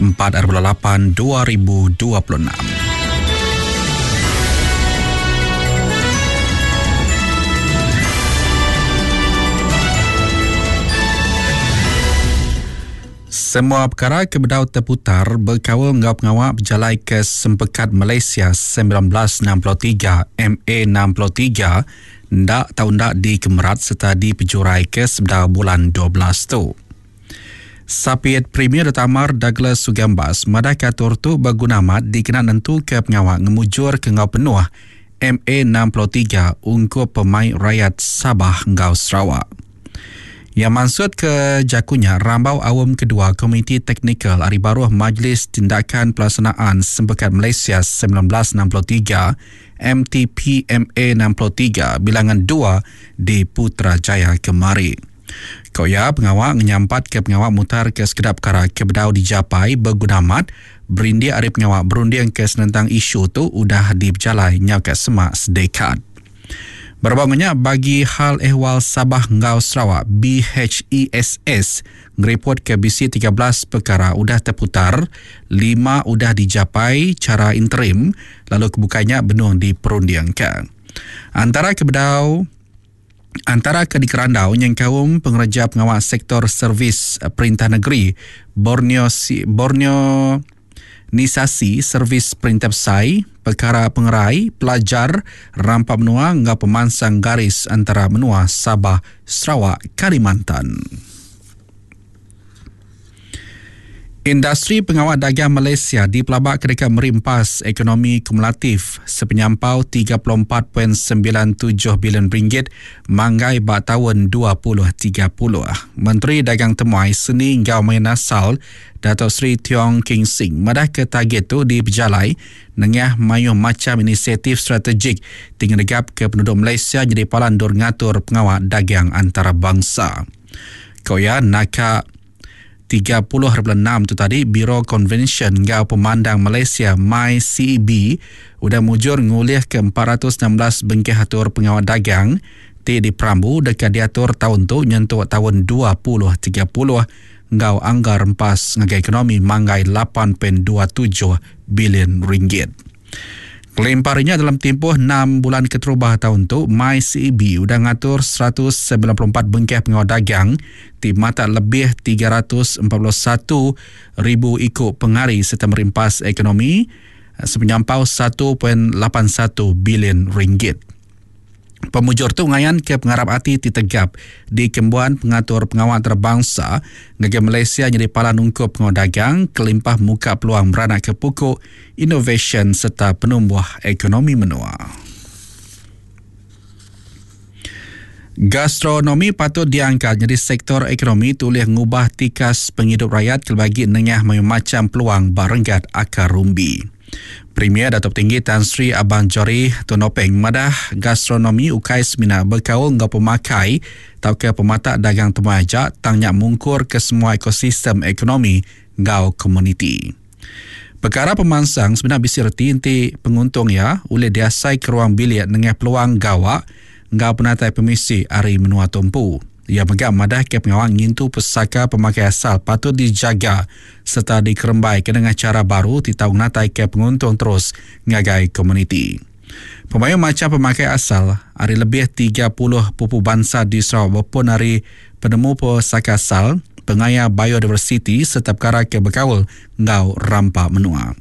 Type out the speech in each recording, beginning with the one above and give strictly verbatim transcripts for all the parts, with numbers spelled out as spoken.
empat lapan dua ribu dua puluh enam. Semua perkara kebedau terputar berkaul ngau pengawak berjalai ke Sempekat Malaysia sembilan belas enam puluh tiga M A enam puluh tiga ndak tau ndak dikemerat serta dipejurai ke sebedau bulan dua belas tu. Sapiet Premier Tamar Douglas Sugambas madah katur tu berguna amat dikena nentu ke pengawak ngemujur ke ngau penuh M A enam puluh tiga ungkup pemain rakyat Sabah ngau Sarawak. Yang maksud ke jakunya rambau awam kedua Komiti Teknikal Ari Baruh Majlis Tindakan Pelaksanaan Sempekat Malaysia sembilan belas enam puluh tiga M T P M A enam puluh tiga bilangan dua di Putrajaya kemari. Koya pengawak menyampat ke pengawak mutar ke sekedap perkara kebedau dijapai berguna amat berindik ari pengawak berunding ke senentang isu tu udah diberjalai nyau ke semak sedekat. Berbangunnya bagi hal ehwal Sabah ngau Sarawak B H E S S ngereport ke B C tiga belas perkara udah terputar, lima udah dijapai cara interim lalu kebukanya benung diperundiangkan. Antara kebedau antara ke dikerandau yang kaum pengerja pengawal sektor servis perintah negeri Borneo Borneo Nisasi Servis Perintah Besai, Perkara Pengerai, Pelajar, Rampak Menua ngau pemansang garis antara menua Sabah, Sarawak, Kalimantan. Industri pengawal dagang Malaysia dipelabak ketika merimpas ekonomi kumulatif sepenyampau tiga puluh empat perpuluhan sembilan tujuh bilion ringgit manggai bak tahun dua puluh tiga puluh. Menteri Dagang Temuai Seni Ngau Main Asal Dato' Sri Tiong King Sing madah ke target tu diberjalai nengah mayuh macam inisiatif strategik tinggi negap ke penduduk Malaysia jadi palandur ngatur pengawal dagang antarabangsa. Koya naka tiga puluh perpuluhan enam tu tadi Biro Konvensyen Ngau Pemandang Malaysia M Y C E B udah mujur ngulih ke empat ratus enam belas bengkeh atur pengawal dagang ti diperambu dekat diatur tahun tu nyentuh tahun dua puluh tiga puluh ngau anggar empas ngagai ekonomi manggai lapan perpuluhan dua tujuh bilion ringgit. Kelimparinya dalam tempoh enam bulan keterubah tahun tu, M Y C E B udah ngatur seratus sembilan puluh empat bengkeh pengawal dagang ti mata lebih tiga ratus empat puluh satu ribu ikut pengari serta merimpas ekonomi sepenyampau satu perpuluhan lapan satu bilion ringgit. Pemujur tu ngayan ke pengarap hati ti tegap di Kembuan Pengatur Pengawal Antarabangsa ngagai Malaysia jadi palan ungkup pengawal dagang kelimpah muka peluang beranak ke pokok innovation serta penumbuh ekonomi menua. Gastronomi patut diangkat jadi sektor ekonomi tulih ngubah tikas penghidup rakyat kelbagi nengah macam peluang barenggat akar rumbi. Premier Datuk Tinggi Tan Sri Abang Johari Tun Openg madah gastronomi ukai semina berkaul ngau pemakai tau ke pematak dagang temuai ajak tangnya mungkur ke semua ekosistem ekonomi ngau komuniti. Perkara pemansang sebenarnya bisi reti inti penguntung ya oleh diasai ke ruang bilik nengah peluang gawak ngau penatai permisi ari menua tumpu. Ia megak madah ke pengawal ngintu pesaka pemakai asal patut dijaga serta dikerembai ke dengan cara baru titau natai ke penguntung terus ngagai komuniti. Pemayu macam pemakai asal hari lebih tiga puluh pupu bangsa di Sarawak maupun hari penemu pesaka asal, pengaya biodiversiti serta perkara ke berkaul ngau rampak menua.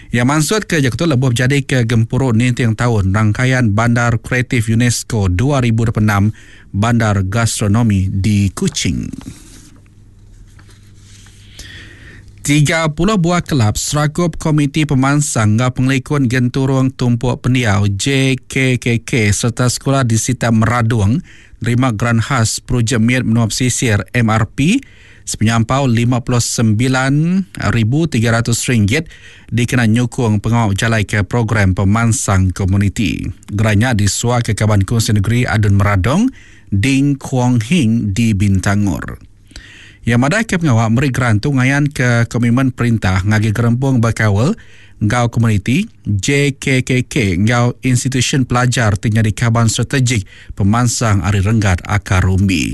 Yang maksud ke Jakarta lebuh jadi ke gempuruk nintiang tahun rangkaian Bandar Kreatif UNESCO dua ribu dua puluh enam Bandar Gastronomi di Kuching. tiga puluh buah kelab serakup Komiti Pemansang Ngau Pengelikun Genturung Tumpuk Pendiau J K K K serta sekolah di Sita Meradung nerima geran khas projek Miat Menua Pesisir M R P sepenyampau lima puluh sembilan ribu tiga ratus ringgit dikena nyukung pengawal jalai ke program pemansang komuniti. Geranya disuai ke Kaban Kongsi Negeri Adun Meradong, Ding Kuong Hing di Bintangor. Yang madah ke pengawal meri geran tu ngayan ke komitmen perintah ngagi gerempung berkawal ngau komuniti J K K K ngau institusi pelajar tinggal di kaban strategik pemansang ari renggat akar rumbi.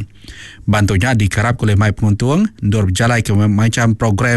Bantunya dikerap oleh mai penguntung ndur berjalai ke macam program